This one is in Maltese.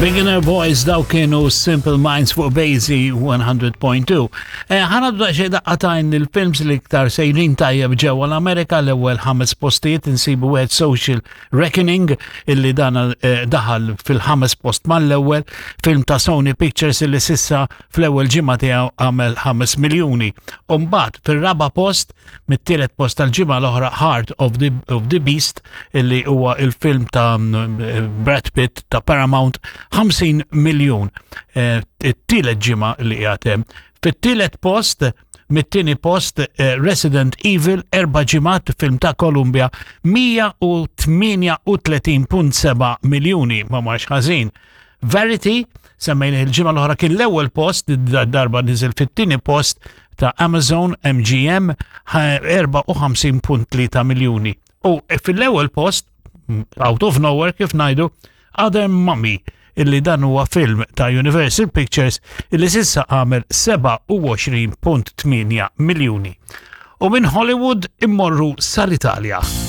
Beginner Boys daw kienu Simple Minds fuq Basie 100.2. Eh, ħana xej daqqatajn il-films li iktar sejrin tajjeb ġewwa l-Amerika l-ewwel ħames postijiet insibu wieħed Social Reckoning illi dan eh, daħal fil-ħames post mal-ewwel film ta' Sony Pictures illi sissa fl-ewwel ġimgħa tiegħu għamel 5 miljuni. U mbagħad fir-raba' post Mit-tielet post tal-ġimgħa l-oħra Heart of the, of the Beast illi huwa il-film ta' Brad Pitt ta' Paramount 50 miljun. Eh, it-tielet ġimgħa li qiegħed hemm. Fit-tielet post mit-tieni post eh, Resident Evil erba' ġimgħat film ta' Columbia 138.7 miljuni ma marx ħażin. Verity, semmejna il-ġimgħa l-oħra kien l-ewwel post, darba niżel fit-tieni post ta' Amazon MGM 54.3 miljuni. U fil-ewwel post, out of nowhere kif ngħidu, Other Mummy illi dan huwa film ta' Universal Pictures illi sissa għamel 27.8 miljuni. U minn Hollywood immorru sal-Italja.